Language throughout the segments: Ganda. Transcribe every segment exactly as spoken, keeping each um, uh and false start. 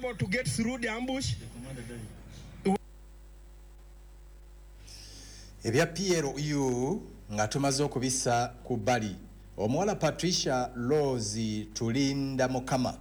able to get through the ambush. Ebya P L U nga tumaze okubissa ku bbali, omuwala Patricia Rose Tulinda Mukama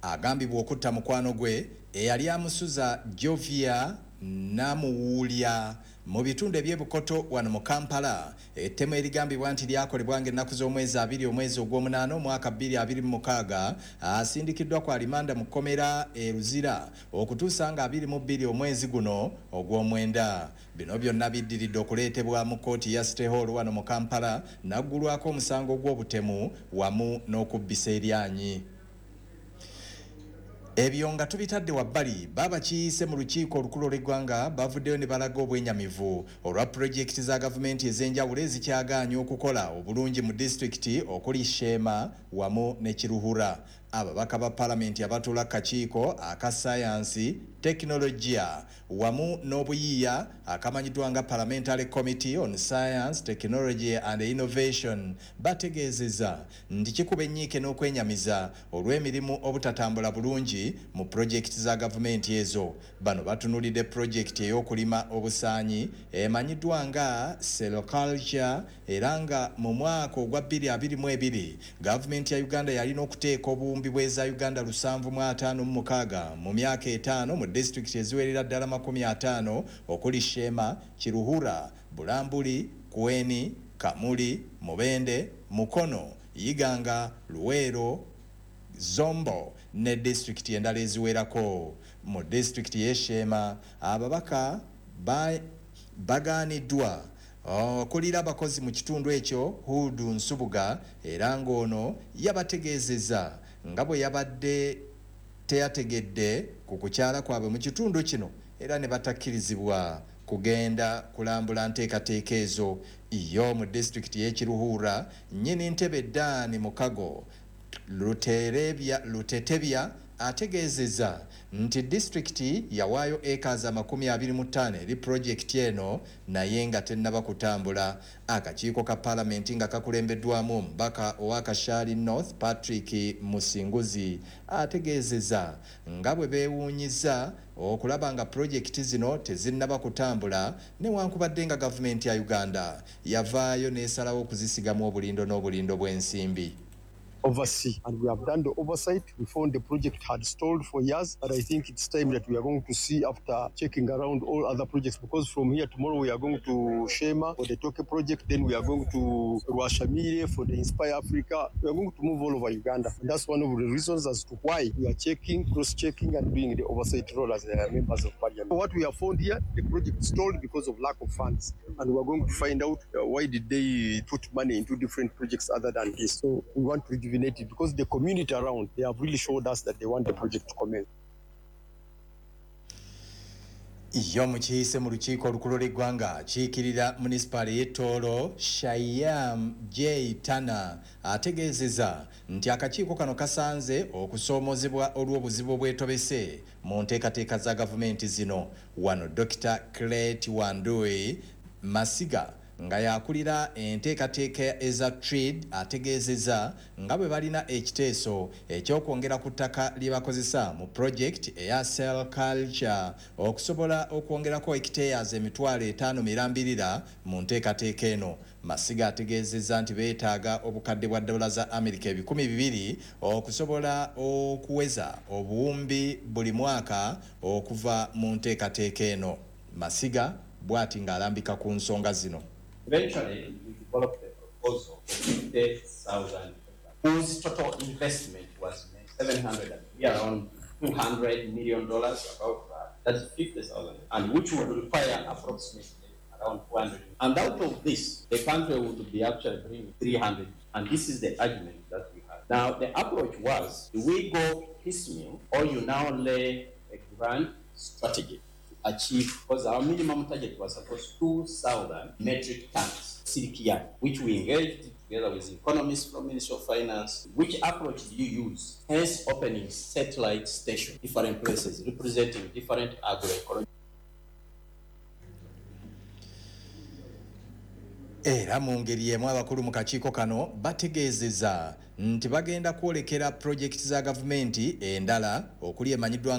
agambibwa okutta mukwano gwe eyali amusuza Jovia Namuwulya mu bitundu eby'Ebukoto wano mu Kampala. Ettemu erigambibwa nti lyakolebwa ng'ennaku z'omwezi abiri omwezi ogw'omunaana omwaka bbiri abiri mu mukaaga asindikiddwa ku alimanda mu kkomera e Luzira okutuusa nga abiri mu bbiri omwezi guno ogw'omwenda. Bino byonna biddiridde okuleetebwa mu kkooti ya City Hall wano mu Kampala n'aggulwako omusango gw'obutemu wamu n'okubbisa eryanyi. Ebyo nga tubitadde wabbali, babakiise mu lukiiko olukulu olw'eggwanga bavuddeyo ne balaga obwenyamivu olwa pulojekiti za gavumenti ez'enjawulo ezikyagaanye okukola obulungi mu disitulikiti okuli Sheema wamu ne Kiruhura. Ababaka ba palamenti abatuula ku kakiiko aka ssaayansi, tekinologiya wamu n'obuyiiya akamanyiddwa nga Parliamentary Committee on Science, Technology and Innovation bategeezezza nti kikuba ennyiike n'okwenyamiza olw'emirimu obutatambula bulungi mu pulojekiti za gavumenti ezo. Bano batunuulidde pulojekiti ey'okulima obusaanyi emanyiddwa nga Sericulture era nga mu mwaka ogwa bbiri abiri mu ebiri gavumenti ya Uganda yalina okuteeka obuwumbi bw'eza Uganda lusanvu mu ataano mu mukaaga mu myaka etaano mu disitulikiti eziwerera ddala makumi ataano okuli Sheema, Kiruhura, Bulambuli, Kweni, Kamuli, Mubende, Mukono, Iganga, Luweero, Zombo ne disitulikiti endala eziwerako. Mu disitulikiti y'e Sheema ababaka bagaaniddwa okulira abakozi mu kitundu ekyo Hudu Nsubuga era ng'ono yabategeezezza nga bwe yabadde teyategedde ku kukyala kwabwe mu kitundu kino era ne batakkirizibwa kugenda kulambula nteekateeka ezo. Yo mu disitulikiti y'e Kiruhura nnyini ntebe Dan Mukago Lutetebya ategeezezza nti disitulikiti yawaayo ekazi amakumi abiri mu ttaano eri pulojekiti eno naye nga tennaba kutambula. Akakiiko ka palamenti nga kakulembeddwamu omubaka owa Kashari North Patrick Musinguzi ategeezezza nga bwe beewuunyizza okulaba nga pulojekiti zino tezinnaba kutambula newankubadde nga gavumenti ya Uganda yavaayo n'esalawo okuzisigamu obulindo n'obulindo bw'ensimbi. Oversee, and we have done the oversight. We found the project had stalled for years, but I think it's time that we are going to see after checking around all other projects, because from here tomorrow we are going to Shema for the Toke project, then we are going to Rwashamire for the Inspire Africa. We are going to move all over Uganda, and that's one of the reasons as to why we are checking, cross-checking and doing the oversight role as the members of parliament. What we have found here, the project stalled because of lack of funds, and we are going to find out uh, why did they put money into different projects other than this. So we want to rejuvenate it because the community around, they have really showed us that they want the project to commence. Yo mukiise mu lukiiko olukulu lw'eggwanga akiikirira munisipaali y'e Tooro Shayam J Tana ategeezezza nti akakiiko kano kasanze okusoomozebwa olw'obuzibu obwetobese mu nteekateeka za gavumenti zino. Wano Dokita Clet Wandui Masiga nga yakulira enteekateeka eza trade ategeezezza nga bwe balina ekiteeso ekyokwongera ku ttaka lye bakozesa mu project eya Sericulture okusobola okwongerako hectares emitwalo etaano mirambirira mu nteekateeka eno. Masiga ategeezezza nti beetaaga obukadde bwa dola za Amerika ebikumi bibiri okusobola okuweza obuwumbi buli mwaka okuva mu nteekateeka eno. Masiga bw'ati ng'alambika ku nsonga zino. Eventually, we developed a proposal for fifty thousand, whose total investment was seven hundred, around two hundred million dollars, about that. That's fifty thousand, and which would require approximately around two hundred. And out of this, the country would be actually bringing three hundred. And this is the argument that we had. Now, the approach was, do we go piecemeal, or you now lay a grand strategy to achieve, because our minimum target was supposed two thousand metric tons, silk yarn, which we engaged together with economists from Ministry of Finance. Which approach do you use? Hence opening satellite stations, different places, representing different agroecologies. Era mu ngeri emu abakulu mu kakiiko kano bategeezezza nti bagenda kwolekera pulojekiti za gavumenti endala okuli emanyiddwa nga